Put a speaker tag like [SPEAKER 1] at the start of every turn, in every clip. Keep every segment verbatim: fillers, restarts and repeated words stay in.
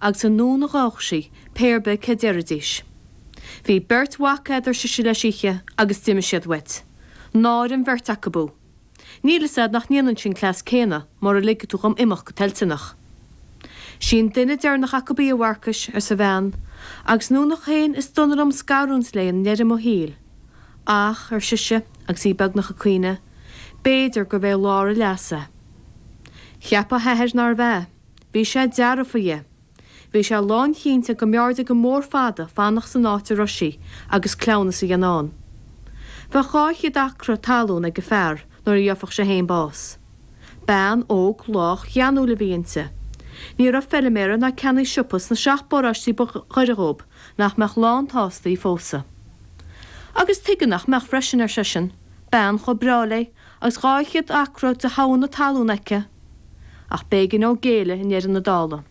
[SPEAKER 1] agus anonn a ghabhadh sí, pé ar bith cé déarfaidís. Bhí beirt mhac a'd, ar sise leis oíche, agus d'imigh siad uait. Náire an bheirt acu thú. Níl fhios a'd nach ndéanfainnse an cleas céanna mura ligfidh tú dhom imeacht go toilteanach. Sí an duine deireanach acu í, a Mharcais, arsa a bhean, agus nónach féin is dona liom scarúint léi i ndeireadh mo shaoil. Ach, ar sise, agus í beagnach ag caoineadh, b'fhéidir gurbh é lár a leasa. Cheap a hathair nárbh ea. Bhí sé dearfa dhe. Bhí sé lánchinnte go mb'fhearrde go mór fada fanacht san áit a raibh sí agus cleamhnas a dhéanamh ann. Bheadh dhá chéad acra talún ag an fear nuair a gheobhadh sé féin bás. Bean óg lách gheanúil a bhí inti. Ní raibh feiliméara ná ceannaí siopa sna seacht bparóistí ba ghaire dhóibh nach mbeadh lán tsásta í phósadh. Agus tuige nach mbeadh freisin ar seisean, bean chomh breá léi agus dhá chéad acra de thogha na talún aici, ach b'éigean dó géilleadh i ndeireadh na dála.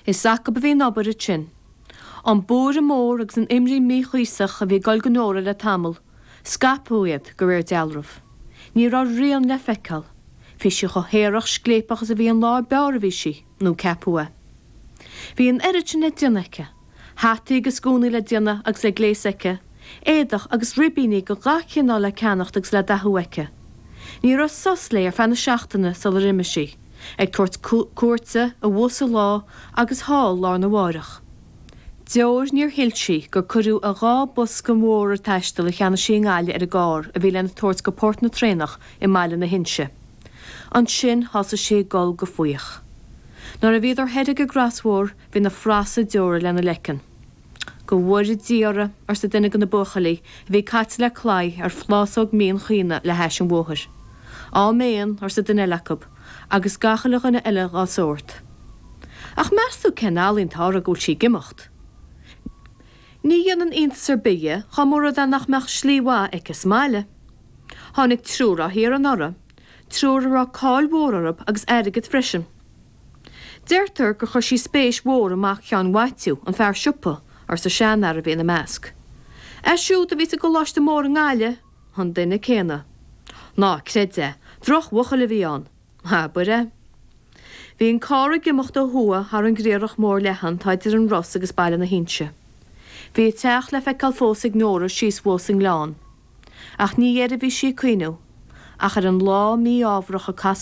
[SPEAKER 1] Is acu a bhí an obair ansin. An buaireamh mór agus an imní mhíchuíosach a bhí ag goil go Nóra le tamall, scaipeadh iad de réir dealraimh. Ní raibh rian le feiceáil. Bhí sí chomh haerach scléipeach is a bhí an lá ab fhearr a bhí sí, nó ceapadh é. Bhí an oiread sin le déanamh aici, hataí agus gúnaí le déanamh agus le gléasadh aici, éadach agus ribíní de gach cineál le ceannacht agus le dathú aici. Ní raibh sos léi ar feadh na seachtaine sular imigh sí, ag tabhairt cuairte abhus sa lá agus thall lá arna mhárach. Deoir níor shíl sí gur cuireadh a dhá bosca mhóra taistil a cheannaigh sí i nGaillimh ar an gcarr a bhí lena tabhairt go Port na Traenach i mBaile na hInse. Ansin thosaigh sí ag gol go fuíoch. Nuair a bhíodar thoir ag an gcrosbhóthar bhí na frasa deora lena leiceann. Go bhfóire Dia oraibh arsa duine de na buachaillí a bhí caite le claí ar phlásóg mín chaoin le hais an bhóthair. Áiméan arsa duine eile acu, agus gach uile dhuine eile dá sórt. Ach meas tú cén ealaín atá uirthi go bhfuil sí ag imeacht. Ní dhéanann iontas ar bith é dá mba rud é nach mbeadh slí mhaith aici sa mbaile. Tháinig triúr á thiar anuraidh, triúr a raibh cáil mhór orthu agus airgead freisin. Deirtear gur chuir sí spéis mhór i mac Sheáin Mhaitiú an fear siopa arsa seanfhear a bhí ina measc. É siúd a bhí sa gcoláiste mór i nGaillimh an duine céanna. Ná creid é, drochbhuachaill a bhí ann, Abair é. Bhí an carr ag imeacht ó thuaidh thar an gcriathrach mór leathan atá idir an Ros agus Baile na hInse. Bhí a teach le feiceáil fós ag Nóra síos thuas sa ngleann. Ach ní air a bhí sí ag cuimhneamh, ach ar an lá mí-ámharach a casadh